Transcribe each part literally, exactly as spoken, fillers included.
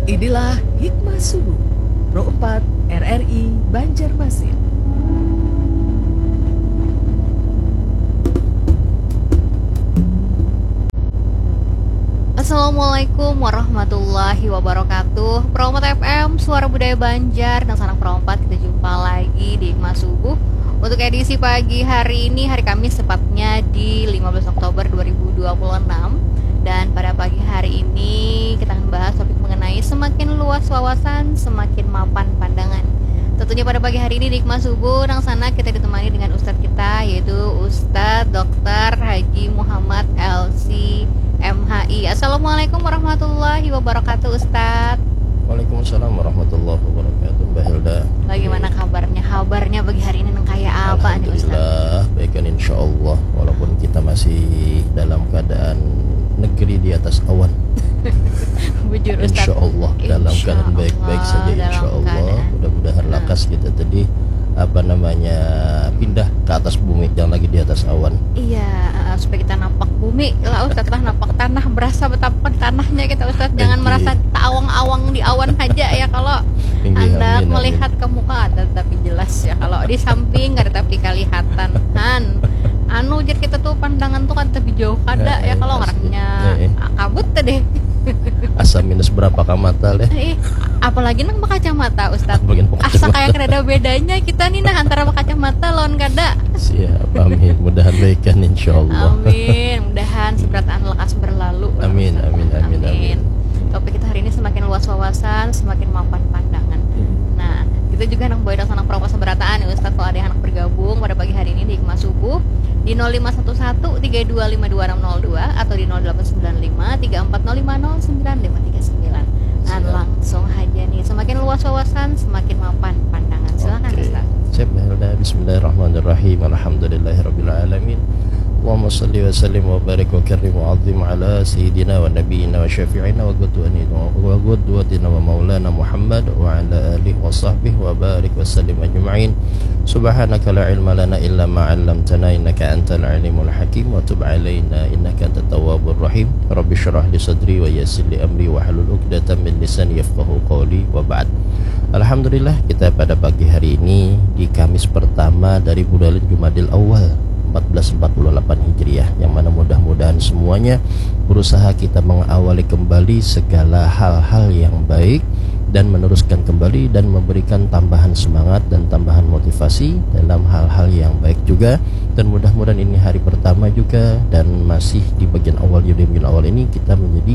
Inilah Hikmah Subuh, Pro empat R R I Banjarmasin. Assalamualaikum warahmatullahi wabarakatuh. Pro empat F M, Suara Budaya Banjar, nang sanak Pro empat, kita jumpa lagi di Hikmah Subuh. Untuk edisi pagi hari ini, hari Kamis tepatnya di lima belas Oktober dua ribu dua puluh enam. Dan pada pagi hari ini kita akan bahas topik mengenai semakin luas wawasan, semakin mapan pandangan. Tentunya pada pagi hari ini di Hikmah Subuh, nang sanak kita ditemani dengan ustadz kita, yaitu Ustadz doktor Haji Muhammad L C M H I. Assalamualaikum warahmatullahi wabarakatuh, Ustadz. Waalaikumsalam warahmatullahi wabarakatuh, Mbak Hilda. Bagaimana kabarnya? Kabarnya pagi hari ini nang kaya apa nih, Ustadz? Alhamdulillah, baik kan, insya Allah. Walaupun kita masih dalam keadaan negeri di atas awan. Bujur, Ustadz. Insya Allah, dalam Insya keadaan baik-baik Allah, saja, dalam insya Allah. Keadaan. Mudah-mudahan Nah. lakas kita tadi, apa namanya, pindah ke atas bumi, jangan lagi di atas awan. Iya, eh, supaya kita napak bumi lah, Ustadz, lah, napak tanah, berasa betapak tanahnya kita, Ustadz. Jangan Inggih. merasa taawang-awang di awan aja ya, kalau Inggih, Anda amin, amin. melihat ke muka ada tapi jelas ya, kalau di samping ada tapi kelihatan. Han, anu, jar kita tuh, pandangan tuh kan tapi jauh kada ya, Eh, kalau asli. ngarannya Eh, eh. kabut tadi. Asa minus berapa ka mata, leh? Eh, apalagi nang berkacamata, Ustadz. Apalagi nang Asa berkacamata. Kayak kada ada bedanya kita nih, nah, antara berkacamata lawan kada. Siap, amin. Mudahan baik kan, insya Allah. Amin. Mudahan seberataan lekas berlalu. Amin, amin, amin, Amin. amin. Topik kita hari ini semakin luas wawasan, semakin mapan pandangan. Hmm. Nah, kita juga nang bawa dasar nang perokok seberataan nih, Ustadz, kalau ada yang anak bergabung pada pagi hari ini di Hikmah Subuh di nol lima satu satu tiga dua lima dua enam nol dua atau di nol delapan sembilan lima tiga empat nol lima nol sembilan lima tiga sembilan. Nah, Siap. langsung aja nih. Semakin luas wawasan, semakin mapan pandangan. Silakan, Oke. Ustaz. Siap, Mbak Hilda. Bismillahirrahmanirrahim. Alhamdulillahirabbil alamin. Allahumma shalli wa sallim wa barik wa karrim wa azim ala sayyidina wa nabiyyina wa syafi'ina wa qudwatina wa, wa qudwatina wa maulana Muhammad wa ala alihi wa sahbihi wa barik wa sallim ajma'in. Subhanaka la ilma lana illa ma 'allamtana innaka antal alimul hakim wa tub alaina innaka antat tawwabur rahim. Rabbi syrah li sadri wa yassir li amri wahlul 'uqdatam min lisani yafqahu qawli wa ba'd. Alhamdulillah, kita pada pagi hari ini di Kamis pertama dari bulan Jumadil Awal empat belas empat puluh delapan Hijriah, yang mana mudah-mudahan semuanya berusaha kita mengawali kembali segala hal-hal yang baik dan meneruskan kembali dan memberikan tambahan semangat dan tambahan motivasi dalam hal-hal yang baik juga. Dan mudah-mudahan ini hari pertama juga dan masih di bagian awal, di bagian awal ini kita menjadi,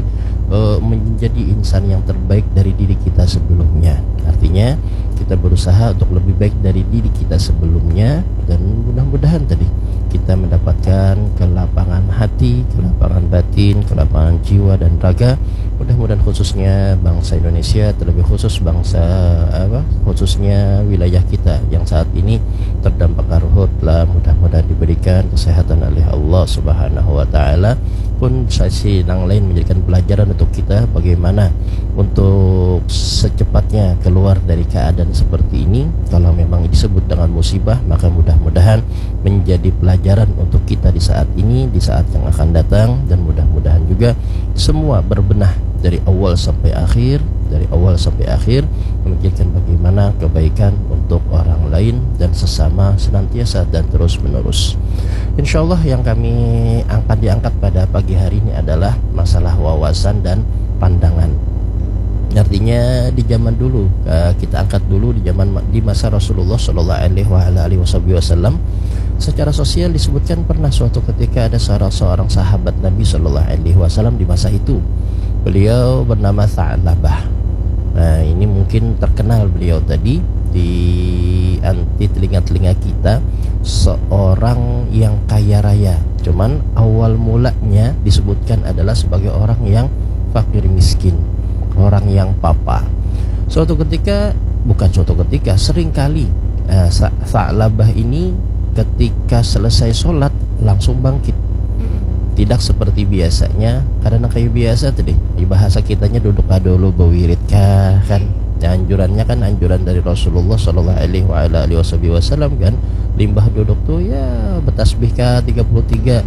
eh, menjadi insan yang terbaik dari diri kita sebelumnya. Artinya, kita berusaha untuk lebih baik dari diri kita sebelumnya dan mudah-mudahan tadi kita mendapatkan kelapangan hati, kelapangan batin, kelapangan jiwa dan raga. Mudah-mudahan khususnya bangsa Indonesia, terlebih khusus bangsa apa, khususnya wilayah kita yang saat ini terdampak karhutlah, mudah-mudahan diberikan kesehatan oleh Allah Subhanahu wa Ta'ala. Pun sisi nang lain menjadikan pelajaran untuk kita bagaimana untuk secepatnya keluar dari keadaan seperti ini. Kalau memang disebut dengan musibah, maka mudah-mudahan menjadi pelajaran untuk kita di saat ini, di saat yang akan datang, dan mudah-mudahan juga semua berbenah dari awal sampai akhir, dari awal sampai akhir, memikirkan bagaimana kebaikan untuk orang lain dan sesama senantiasa dan terus menerus. Insya Allah, yang kami angkat, diangkat pada pagi hari ini adalah masalah wawasan dan pandangan. Artinya, di zaman dulu, eh, kita angkat dulu di zaman ma-, di masa Rasulullah Shallallahu Alaihi wa ala alihi Wasallam, secara sosial disebutkan pernah suatu ketika ada seorang, seorang sahabat Nabi Shallallahu Alaihi Wasallam di masa itu. Beliau bernama Tha'labah. Nah, ini mungkin terkenal beliau tadi di an-, di telinga-telinga kita, seorang yang kaya raya. Cuman, awal mulanya disebutkan adalah sebagai orang yang fakir miskin, orang yang papa. Suatu ketika, bukan suatu ketika, seringkali, eh, Sa-, Sa'labah ini ketika selesai sholat langsung bangkit. Tidak seperti biasanya, karena kayak biasa tadi, bahasa kitanya duduk dulu, bewirid kah, kan? Ya, anjurannya kan anjuran dari Rasulullah Shallallahu Alaihi wa ala alihi Wasallam, kan? Limbah duduk tuh, ya, betasbih kah tiga puluh tiga.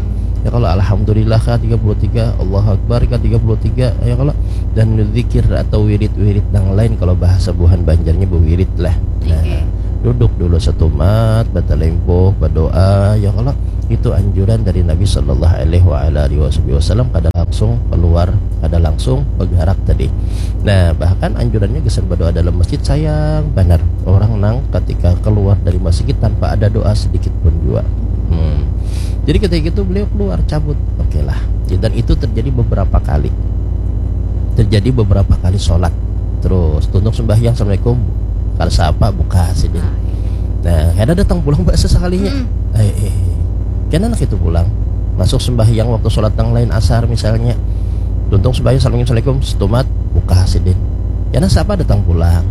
kalau alhamdulillah ka tiga puluh tiga, Allahu Akbar ka tiga puluh tiga, ya kalau, dan zikir atau wirid-wirid nang lain, kalau bahasa buhan Banjarnya bewirid lah. Nah, duduk dulu setumat, batalimpuh, berdoa, ya kalau, itu anjuran dari Nabi sallallahu alaihi wa ala alihi wasallam, kada langsung keluar, kada langsung bergerak tadi. Nah, bahkan anjurannya gasan berdoa dalam masjid, sayang banar orang nang ketika keluar dari masjid tanpa ada doa sedikit pun juga. Hmm. Jadi ketika itu beliau keluar, cabut. Oke lah. Dan itu terjadi beberapa kali. Terjadi beberapa kali sholat. Terus tuntung sembahyang, assalamualaikum. Kada sapa, buka sidin. Nah, kada datang pulang bahasa sekalinya. Hmm. Eh, eh. Kena anak itu pulang. Masuk sembahyang waktu sholat yang lain, asar misalnya. Tuntung sembahyang, assalamualaikum, setumat, buka sidin. Kena sapa, datang pulang.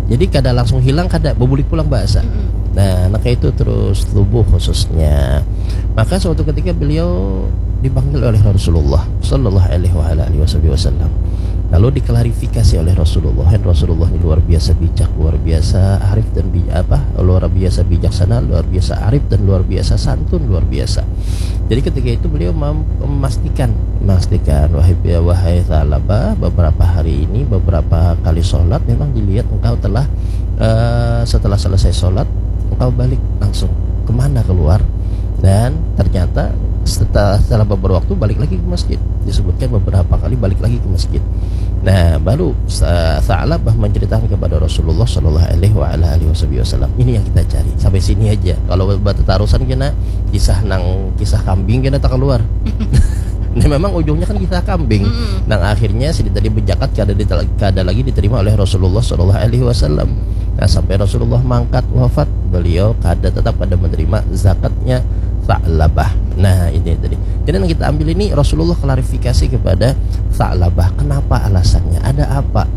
Jadi kada langsung hilang, kada, bebulik pulang bahasa. Mm-mm. Nah, anak itu terus tubuh khususnya. Maka suatu ketika beliau dipanggil oleh Rasulullah sallallahu alaihi wa ala alihi wasallam. Lalu diklarifikasi oleh Rasulullah, dan Rasulullah ini luar biasa bijak, luar biasa arif dan bij-, apa, luar biasa bijaksana, luar biasa arif, dan luar biasa santun, luar biasa. Jadi ketika itu beliau mem-, memastikan, memastikan, wahai, wahai Tha'labah, beberapa hari ini, beberapa kali sholat memang dilihat engkau telah, eh, setelah selesai sholat engkau balik langsung. Kemana keluar? Dan ternyata setelah, setelah beberapa waktu balik lagi ke masjid. Disebutkan beberapa kali balik lagi ke masjid. Nah, baru Sa-, Tha'labah menceritakan kepada Rasulullah sallallahu alaihi wa ala alihi wasallam. Ini yang kita cari. Sampai sini aja. Kalau bertetarusan kena kisah nang, kisah kambing kena tak keluar. Ini memang ujungnya kan kisah kambing. Mm-mm. Nang akhirnya sidin tadi bejakat kada dite-, kada lagi diterima oleh Rasulullah sallallahu alaihi wasallam. Nah, sampai Rasulullah mangkat wafat, beliau kada, tetap kada menerima zakatnya Tha'labah. Nah, ini tadi. Jadi yang kita ambil ini, Rasulullah klarifikasi kepada Tha'labah. Kenapa alasannya? Ada apa?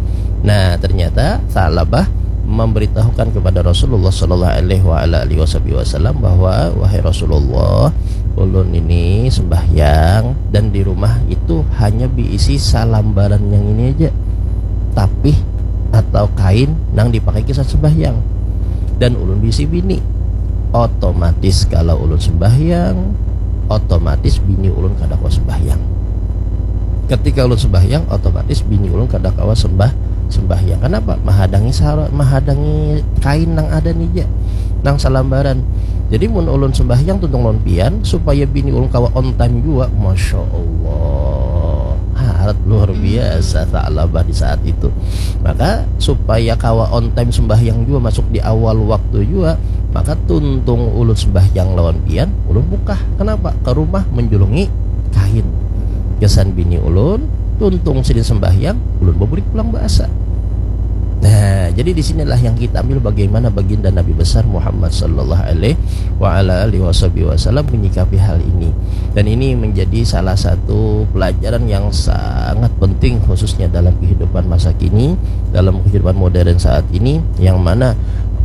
Nah, ternyata Tha'labah memberitahukan kepada Rasulullah sallallahu alaihi wa ala alihi wasallam bahwa, "Wahai Rasulullah, ulun ini sembahyang dan di rumah itu hanya diisi salambaran yang ini aja, tapih atau kain nang dipakai kisah sembahyang. Dan ulun bisi bini. Otomatis kalau ulun sembahyang, otomatis bini ulun kada kawa sembahyang. Ketika ulun sembahyang, otomatis bini ulun kada kawa sembah-, sembahyang. Kenapa? Mahadangi sara-, mahadangi kain nang ada nih ja, nang salambaran. Jadi mun ulun sembahyang tuntung lawan pian, supaya bini ulun kawa on time jua." Masya Allah. Harat luar biasa Tha'labah di saat itu. Maka supaya kawa on time sembahyang jua, masuk di awal waktu jua, maka tuntung ulun sembahyang lawan pian, ulun bukah. Kenapa? Ke rumah menjulungi kain. Gasan bini ulun, tuntung sidin sembahyang, ulun bebulik pulang bahasa. Nah, jadi di sinilah yang kita ambil bagaimana baginda Nabi besar Muhammad sallallahu alaihi wa ala alihi wasallam menyikapi hal ini. Dan ini menjadi salah satu pelajaran yang sangat penting, khususnya dalam kehidupan masa kini, dalam kehidupan modern saat ini, yang mana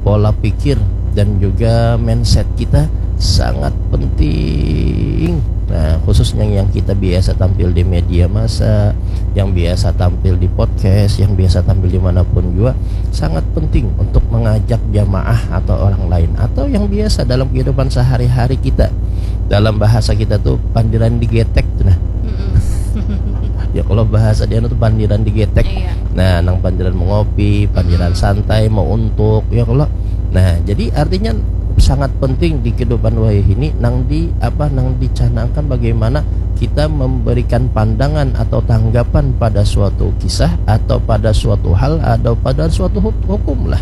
pola pikir dan juga mindset kita sangat penting. Nah, khususnya yang kita biasa tampil di media massa, yang biasa tampil di podcast, yang biasa tampil dimanapun juga, sangat penting untuk mengajak jamaah atau orang lain, atau yang biasa dalam kehidupan sehari-hari kita. Dalam bahasa kita tuh pandiran digetek tuh, nah. Mm-mm. Ya, kalau bahasa dia tuh pandiran digetek. Iya. Nah, nang pandiran mengopi, pandiran Mm-mm. santai, mau untuk, ya kalau. Nah, jadi artinya sangat penting di kehidupan wayah ini nang di apa, nang dicanangkan bagaimana kita memberikan pandangan atau tanggapan pada suatu kisah atau pada suatu hal atau pada suatu huk-, hukum lah.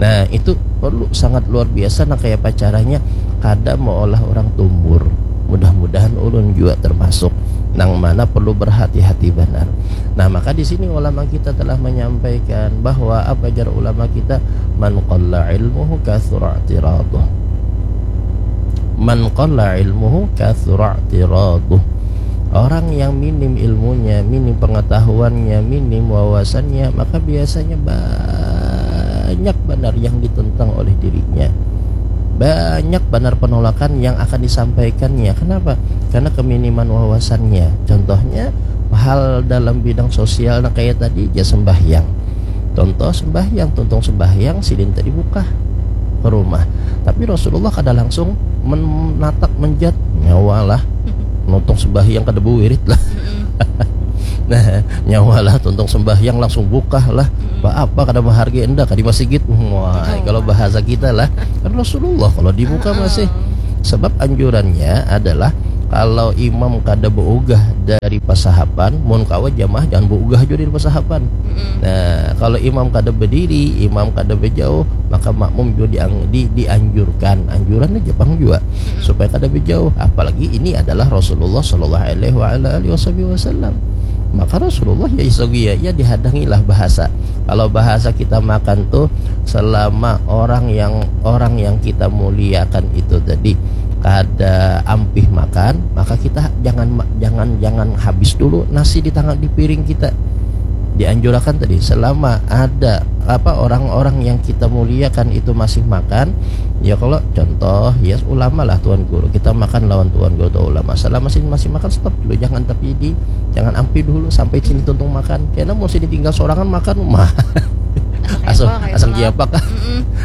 Nah, itu perlu sangat luar biasa, nah, kayak apa caranya kada meolah orang tumbur. Mudah-mudahan ulun juga termasuk nang mana perlu berhati-hati banar. Nah, maka di sini ulama kita telah menyampaikan bahwa apa jar ulama kita, "Man qalla ilmuhu kathura i'tiraduh." "Man qalla ilmuhu kathura i'tiraduh." Orang yang minim ilmunya, minim pengetahuannya, minim wawasannya, maka biasanya banyak banar yang ditentang oleh dirinya. Banyak banar penolakan yang akan disampaikannya. Kenapa? Karena keminiman wawasannya. Contohnya, hal dalam bidang sosial, nah, kayak tadi, ya, sembahyang. Contoh sembahyang, tuntung sembahyang, sidin tadi bukah ke rumah. Tapi Rasulullah kada langsung menatap menjat nyawa lah. tuntung sembahyang kada bawirid lah. Nah, nyawa lah tuntung sembahyang langsung bukah lah. Ba apa kada menghargai enda ka di masigit. Wah, kalau bahasa kita lah, kan Rasulullah kalau di muka masih. Sebab anjurannya adalah kalau imam kada beugah dari pasahapan, mun kawa jamaah jangan beugah juga dari pasahapan. Nah, kalau imam kada berdiri, imam kada berjauh, maka makmum juga diang, di, dianjurkan. Anjuran aja pang juga supaya kada berjauh. Apalagi ini adalah Rasulullah Shallallahu Alaihi Wasallam. Maka Rasulullah ya isogia ya dihadangilah bahasa. Kalau bahasa kita makan tuh selama orang yang orang yang kita muliakan itu tadi kada ampih makan, maka kita jangan jangan jangan habis dulu nasi di tangan di piring kita. Dianjurkan tadi selama ada apa orang-orang yang kita muliakan itu masih makan, ya kalau contoh ya ulama lah tuan guru, kita makan lawan tuan guru atau ulama, selama sini masih makan stop dulu, jangan tapi di jangan ampi dulu sampai sini tuntung makan, karena mau sini tinggal sorangan makan mah asal asal kiapak.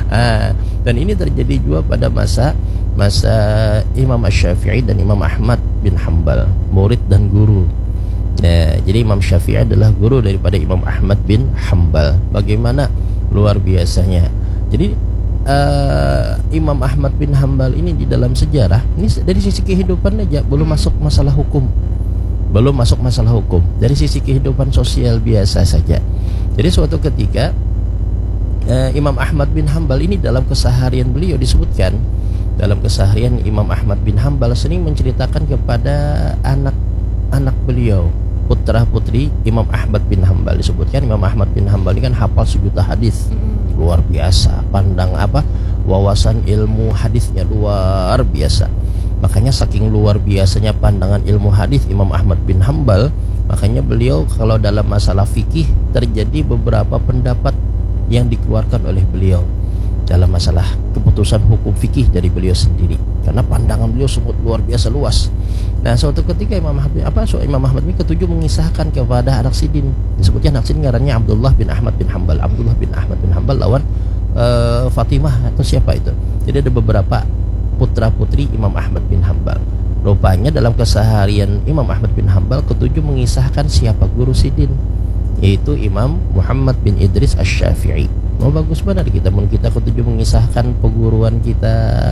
Ah, dan ini terjadi juga pada masa masa Imam Syafi'i dan Imam Ahmad bin Hambal, murid dan guru. Ya, jadi Imam Syafi'i adalah guru daripada Imam Ahmad bin Hambal. Bagaimana luar biasanya. Jadi uh, Imam Ahmad bin Hambal ini di dalam sejarah ini dari sisi kehidupan aja belum hmm. masuk masalah hukum. Belum masuk masalah hukum. Dari sisi kehidupan sosial biasa saja. Jadi suatu ketika uh, Imam Ahmad bin Hambal ini dalam keseharian beliau disebutkan dalam keseharian Imam Ahmad bin Hambal sering menceritakan kepada anak-anak beliau, putra putri Imam Ahmad bin Hambal. Disebutkan Imam Ahmad bin Hambal ini kan hafal sejuta hadis. Mm-mm. Luar biasa, pandang apa? Wawasan ilmu hadisnya luar biasa. Makanya saking luar biasanya pandangan ilmu hadis Imam Ahmad bin Hambal, makanya beliau kalau dalam masalah fikih terjadi beberapa pendapat yang dikeluarkan oleh beliau dalam masalah keputusan hukum fikih dari beliau sendiri, karena pandangan beliau sangat luar biasa luas. Nah, suatu ketika Imam Ahmad apa so Imam Ahmad ini ketujuh mengisahkan kepada anak sidin, disebutnya anak sidin ngarannya Abdullah bin Ahmad bin Hambal. Abdullah bin Ahmad bin Hambal lawan uh, Fatimah atau siapa itu. Jadi ada beberapa putra putri Imam Ahmad bin Hambal. Rupanya dalam keseharian Imam Ahmad bin Hambal ketujuh mengisahkan siapa guru sidin, yaitu Imam Muhammad bin Idris Asy-Syafi'i. Mau bagus benar kita mun kita ketujuh mengisahkan peguruan kita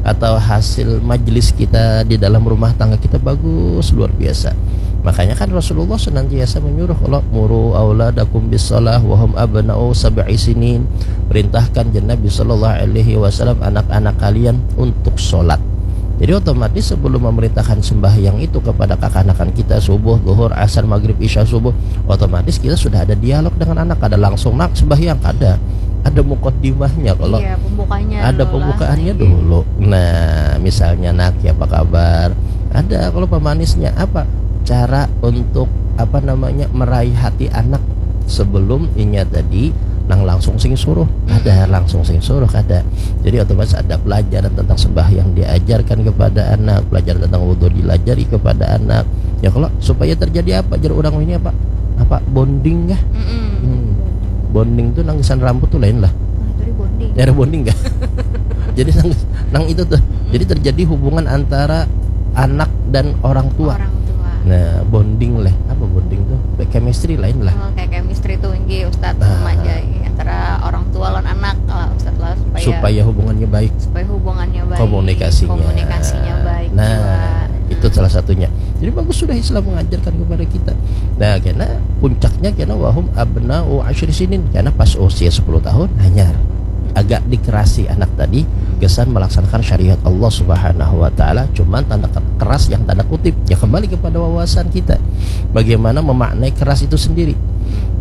atau hasil majlis kita di dalam rumah tangga kita bagus luar biasa. Makanya kan Rasulullah senantiasa menyuruh kalau muru auladakum bis salah wahum abna'u sab'i sinin. Perintahkan Nabi Shallallahu Alaihi Wasallam anak-anak kalian untuk sholat. Jadi otomatis sebelum memerintahkan sembahyang itu kepada kakanakan kita subuh, zuhur, asar, maghrib, isya, subuh, otomatis kita sudah ada dialog dengan anak. Ada langsung nak sembahyang, ada ada mukaddimahnya kalau iya, pembukanya ada dulu pembukaannya lah, dulu. Nah, misalnya nak ya apa kabar? Ada kalau pemanisnya apa? Cara untuk apa namanya meraih hati anak sebelum inya tadi nang langsung sing suruh ada langsung sing suruh ada. Jadi otomatis ada pelajaran tentang sembahyang diajarkan kepada anak, pelajaran tentang wudhu dilajari kepada anak. Ya kalau supaya terjadi apa jar orang ini apa apa bonding kah? Hmm. Bonding tuh nangisan rambut tuh lain lah. Nah, tadi bonding. Ada bonding kah? Jadi nang, nang itu tuh. Jadi terjadi hubungan antara anak dan orang tua. Orang tua. Nah, bonding leh. Apa bonding tuh? Kayak chemistry lain lah. Oh, kayak chemistry tuh nggih Ustaz nah. Sama aja antara orang tua lawan anak lah Ustaz lah supaya supaya hubungannya baik. Supaya hubungannya baik. Komunikasinya. Komunikasinya baik. Nah, juga. Itu hmm. Salah satunya. Jadi bagus sudah Islam mengajarkan kepada kita. Nah, karena puncaknya karena wahum abna'u asyri sinin karena pas usia sepuluh tahun hanyar agak dikerasi anak tadi kesan melaksanakan syariat Allah Subhanahu wa taala cuman tanda keras yang tanda kutip ya kembali kepada wawasan kita bagaimana memaknai keras itu sendiri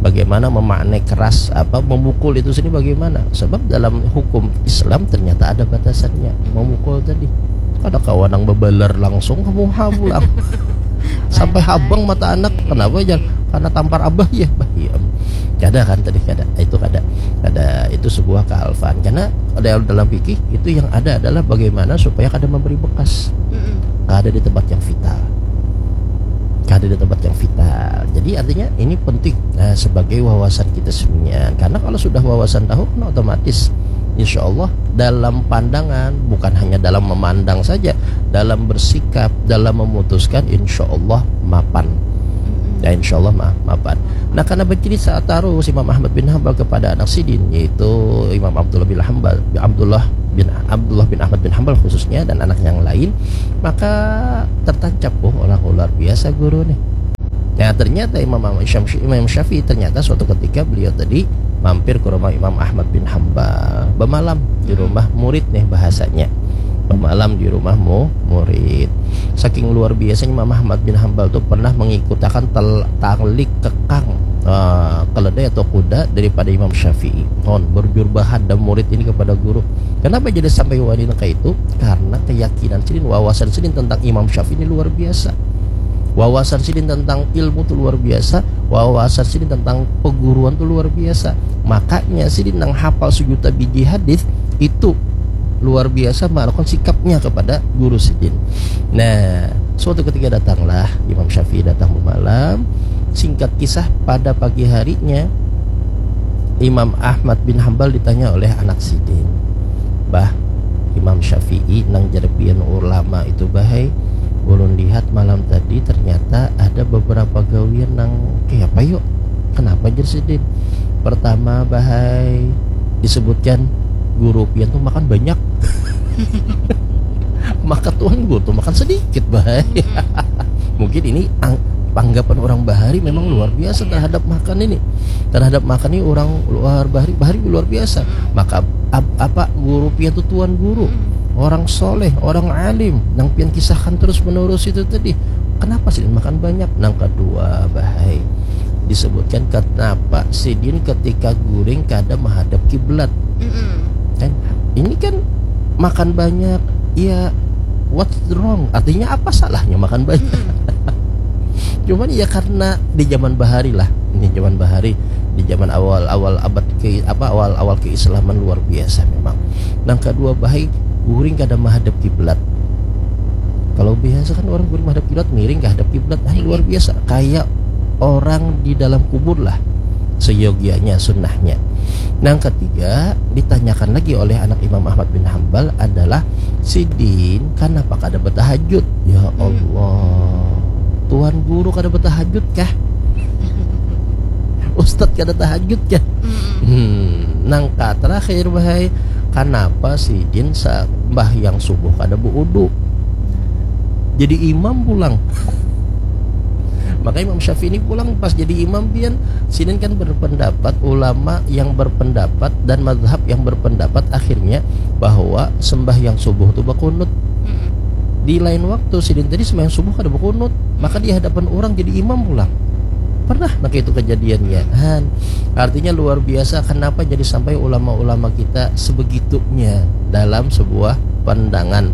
bagaimana memaknai keras apa memukul itu sendiri bagaimana sebab dalam hukum Islam ternyata ada batasannya memukul tadi kada kawa nang bebalar langsung kamu pulang sampai habang mata anak kenapa aja karena tampar abah ya bah iya kada kan tadi kada itu kada kada itu sebuah kealfaan karena dalam dalam fikih itu yang ada adalah bagaimana supaya kada memberi bekas kada di tempat yang vital kada di tempat yang vital jadi artinya ini penting nah, sebagai wawasan kita semuanya karena kalau sudah wawasan tahu kan otomatis insya Allah dalam pandangan bukan hanya dalam memandang saja dalam bersikap, dalam memutuskan, insya Allah mapan. Ya, insya Allah ma- mapan. Nah, karena bercerita tarus Imam Ahmad bin Hambal kepada anak sidin, yaitu Imam Abdullah bin Hambal, Abdullah bin Abdullah bin Ahmad bin Hambal khususnya dan anak yang lain, maka tertancap, oh, orang luar biasa guru nih. Nah, ternyata Imam Imam Syafi'i, Imam Syafi'i ternyata suatu ketika beliau tadi mampir ke rumah Imam Ahmad bin Hambal, bemalam di rumah murid nih bahasanya, bemalam di rumah mu murid. Saking luar biasanya Imam Ahmad bin Hambal tuh pernah mengikutakan tel- tali kekang, eh, keledai atau kuda daripada Imam Syafi'i. Hon, berjurbahan dah murid ini kepada guru. Kenapa jadi sampai wani nang kaitu? Karena keyakinan sidin, wawasan sidin tentang Imam Syafi'i ini luar biasa. Wawasan sidin tentang ilmu tu luar biasa, wawasan sidin tentang peguruan tu luar biasa. Makanya sidin nang hafal sejuta biji hadis itu luar biasa melakukan sikapnya kepada guru sidin. Nah, suatu ketika datanglah Imam Syafi'i datang bemalam. Singkat kisah, pada pagi harinya Imam Ahmad bin Hambal ditanya oleh anak sidin, "Bah, Imam Syafi'i nang jar pian ulama itu, bahai, ulun lihat malam tadi ternyata ada beberapa gawian nang kaya apa yuk? Kenapa?" jar sidin. "Pertama, bahai, disebutkan guru pian tuh makan banyak." "Maka tuan guru tuh makan sedikit, bahai." Mungkin ini ang- tanggapan orang bahari memang luar biasa terhadap makan ini. Terhadap makan ini orang luar bahari, bahari luar biasa. Maka ap- apa guru pian tuh tuan guru, orang soleh, orang alim, nang pian kisahkan terus menerus itu tadi. Kenapa sih makan banyak? Nang kedua, bahai, disebutkan kenapa sidin ketika guring kada menghadap kiblat. Kan ini kan makan banyak, ya, what's wrong? Artinya apa salahnya makan banyak? Cuman ya karena di zaman bahari lah, ini zaman bahari, di zaman awal-awal abad ke apa awal-awal keislaman luar biasa memang. Nang kedua, bahai, guring kada menghadap kiblat. Kalau biasa kan orang guring menghadap kiblat, miring ke hadap kiblat, ah, luar biasa, kayak orang di dalam kubur lah, seyogianya sunnahnya. Nang ketiga, ditanyakan lagi oleh anak Imam Ahmad bin Hambal adalah, "Sidin kenapa kada bertahajud?" Ya Allah, tuan guru kada bertahajud kah? Ustadz kada tahajud kah? Hmm, nang ka terakhir, bahai, kenapa sidin sembahyang subuh kada beudu? Jadi imam pulang. Maka Imam Syafi'i ini pulang pas jadi imam pian, sidin kan berpendapat, ulama yang berpendapat dan mazhab yang berpendapat akhirnya bahwa sembahyang subuh tu bakunut. Di lain waktu sidin tadi sembahyang subuh kada bakunut, maka di hadapan orang jadi imam pulang. Pernah nang itu kejadiannya. Han. Artinya luar biasa kenapa jadi sampai ulama-ulama kita sebegitunya dalam sebuah pandangan.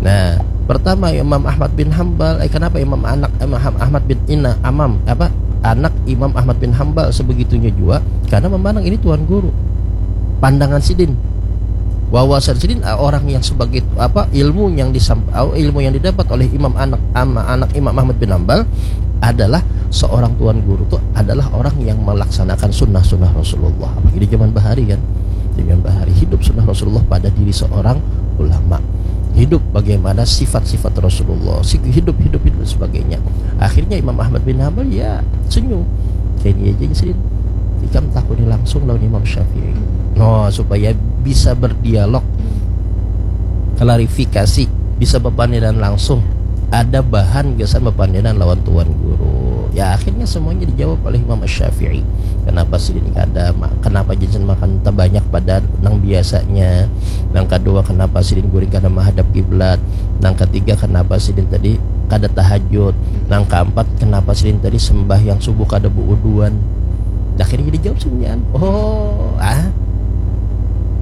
Nah, pertama Imam Ahmad bin Hambal, eh, kenapa Imam anak Imam Ahmad bin Ina Amam apa anak Imam Ahmad bin Hambal sebegitunya juga karena memandang ini tuan guru. Pandangan sidin, wawasan sidin, ah, orang yang sebagai apa ilmu yang disam, ah, ilmu yang didapat oleh Imam anak ama anak Imam Ahmad bin Hambal adalah seorang tuan guru tuh adalah orang yang melaksanakan sunnah-sunnah Rasulullah. Apalagi di zaman bahari kan, di zaman bahari hidup sunnah Rasulullah pada diri seorang ulama, hidup bagaimana sifat-sifat Rasulullah, si- hidup hidup hidup dan sebagainya. Akhirnya Imam Ahmad bin Hambal ya senyum, "Kayak ini aja sih, ikam takuni langsung lawan Imam Syafi'i." No, supaya bisa berdialog, klarifikasi, bisa bepandiran langsung, ada bahan gasan bepandiran lawan tuan guru. Ya akhirnya semuanya dijawab oleh Imam Syafi'i. Kenapa sidin kada ma- kenapa jinsan makan terbanyak pada nang biasanya? Nang kedua, kenapa sidin guring kada menghadap kiblat? Nang ketiga, kenapa sidin tadi kada tahajud? Nang keempat, kenapa sidin tadi sembahyang subuh kada beuduan? Akhirnya dijawab semuanya. Oh, ah.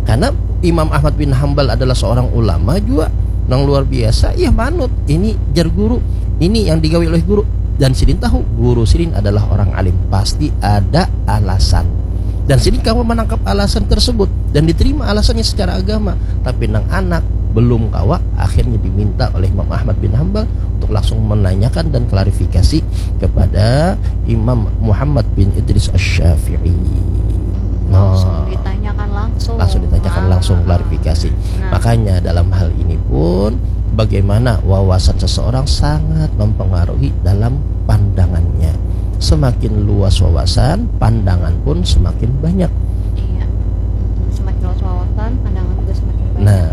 Karena Imam Ahmad bin Hambal adalah seorang ulama juga nang luar biasa, ya manut. Ini jar guru, ini yang digawi oleh guru. Dan sidin tahu guru sidin adalah orang alim, pasti ada alasan. Dan sidin kawa menangkap alasan tersebut dan diterima alasannya secara agama. Tapi nang anak belum kawa, akhirnya diminta oleh Imam Ahmad bin Hambal untuk langsung menanyakan dan klarifikasi kepada Imam Muhammad bin Idris Asy-Syafi'i. Langsung Nah. ditanyakan langsung. Langsung ditanyakan Ah. langsung klarifikasi. Nah. Makanya dalam hal ini pun bagaimana wawasan seseorang sangat mempengaruhi dalam pandangannya. Semakin luas wawasan, pandangan pun semakin banyak. Iya. Mm, semakin luas wawasan, pandangan juga semakin banyak. Nah,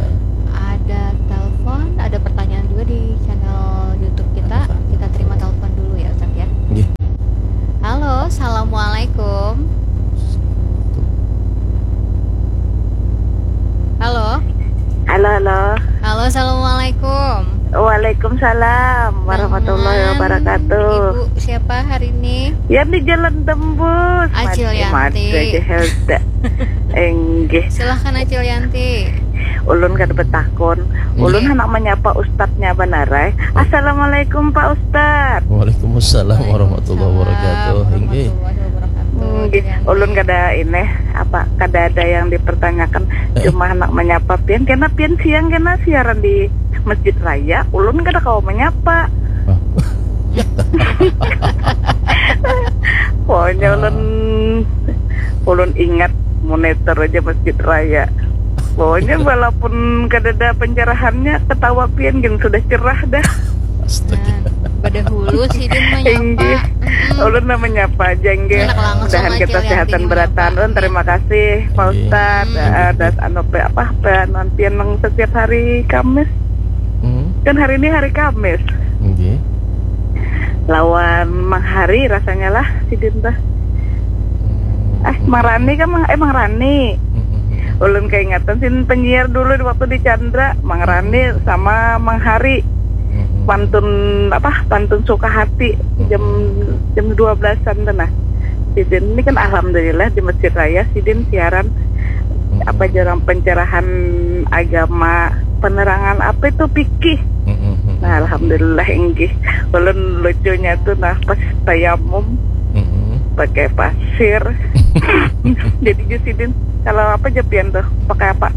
Ada telepon, ada pertanyaan juga di channel YouTube kita. Ada. Kita terima telepon dulu ya, Ustaz ya. nggih. Halo, assalamualaikum. Halo. Halo, halo. Halo, assalamualaikum. Waalaikumsalam warahmatullahi Dengan wabarakatuh. Ibu siapa hari ini? Yang di Jalan Tembus. Acil Mati, Yanti. mati aja Helda. Enggih. Silahkan, Acil Yanti. Ulun kada betakun. Ulun Iya. Handak menyapa ustadznya banarai. Assalamualaikum Pak Ustadz. Waalaikumsalam warahmatullahi wabarakatuh. Inggih. Warahmatullahi wabarakatuh. Enggih. Acil Yanti. Ulun kada ini apa, kada ada yang dipertanyakan. Eh. Cuma handak menyapa pian. Kena pian siang kena siaran di Masjid Raya. Ulun kada kawa menyapa. Ah. Pokoknya ulun ulun ingat monitor aja Masjid Raya. Pokoknya walaupun kada ada pencerahannya, ketawa pian gin sudah cerah dah. Astaga. Nah, badahulu sidin menyapa. Inggih. Mm-mm. Ulun lah menyapa aja nggih. Anak langsung Mudahan aja kita lihat sehatan ini berataan. menyapa. Ulun terima kasih Pak Inggih. Ustadz. Hmm. Eh, das anu pe apa peanuan pian nang setiap hari Kamis. Hmm. Kan hari ini hari Kamis. Inggih. Lawan Mang Hari rasanya lah sidin tah. Eh, Mang Rani kan Mang, eh Mang Rani. Hmm, hmm, hmm. Ulun keingatan sin penyiar dulu di waktu di Chandra, Mang Rani sama Mang Hari. Hmm, hmm. Pantun apa? Pantun suka hati jam jam dua belasan tuh nah. Sidin ini kan alhamdulillah di Masjid Raya sidin siaran apa jarang pencerahan agama, penerangan apa itu fikih. Hmm, hmm, hmm. Nah, alhamdulillah inggih. Ulun lucunya tuh nah pas tayamum Hmm, hmm. pakai pasir. Jadi sidin kalau apa aja pian tuh pakai apa?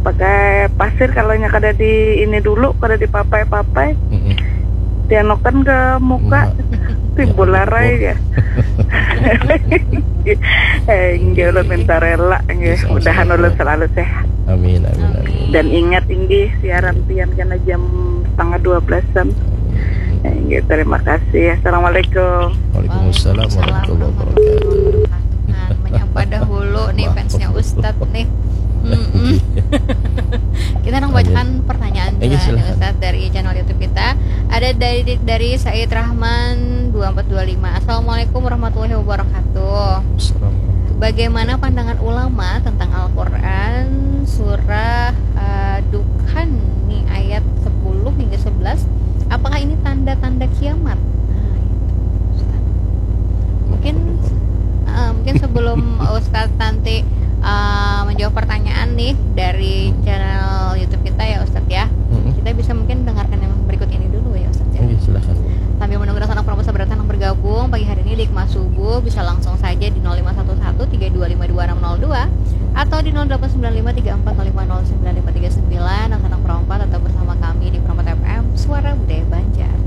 Pakai pasir kalau nya kada di ini dulu, kada dipapai-papai. Hmm, hmm. Dianukan ke muka. Nah. Timbul Ya, larai ampun. Ya. Eh, inggih ulun minta rela nggih. Insya Allah. Mudahan ulun selalu sehat. Amin, amin, amin. Dan ingat inggih siaran pian kena jam setengah dua belasan. Inggih, terima kasih. Assalamualaikum. Waalaikumsalam warahmatullahi wabarakatuh. Nah, menyapa dahulu nih fansnya Ustadz nih. Mm-mm. Kita nang bacakan pertanyaan Iya, juga nih, silakan. Ustadz, dari channel YouTube kita. Ada dari dari Said Rahman dua empat dua lima. Assalamualaikum warahmatullahi wabarakatuh. Assalamualaikum. Bagaimana pandangan ulama tentang Al-Quran surah eh, Dukhan nih ayat sepuluh hingga sebelas? Apakah ini tanda-tanda kiamat? Nah, itu, Ustaz. Mungkin eh, mungkin sebelum Ustadz nanti eh, menjawab pertanyaan nih dari channel YouTube kita ya Ustadz ya. Mm-mm. Kita bisa mungkin dengarkan yang berikut ini dulu ya Ustadz ya. Oke, silakan. Sambil menunggu anak-anak promo sahabat yang bergabung pagi hari ini di Kemas Subuh, bisa langsung saja di nol lima satu satu tiga dua lima dua enam nol dua atau di nol delapan sembilan lima tiga empat nol lima nol sembilan lima tiga sembilan. Anak-anak perompak tetap bersama kami di Perompak F M, Suara Budaya Banjar.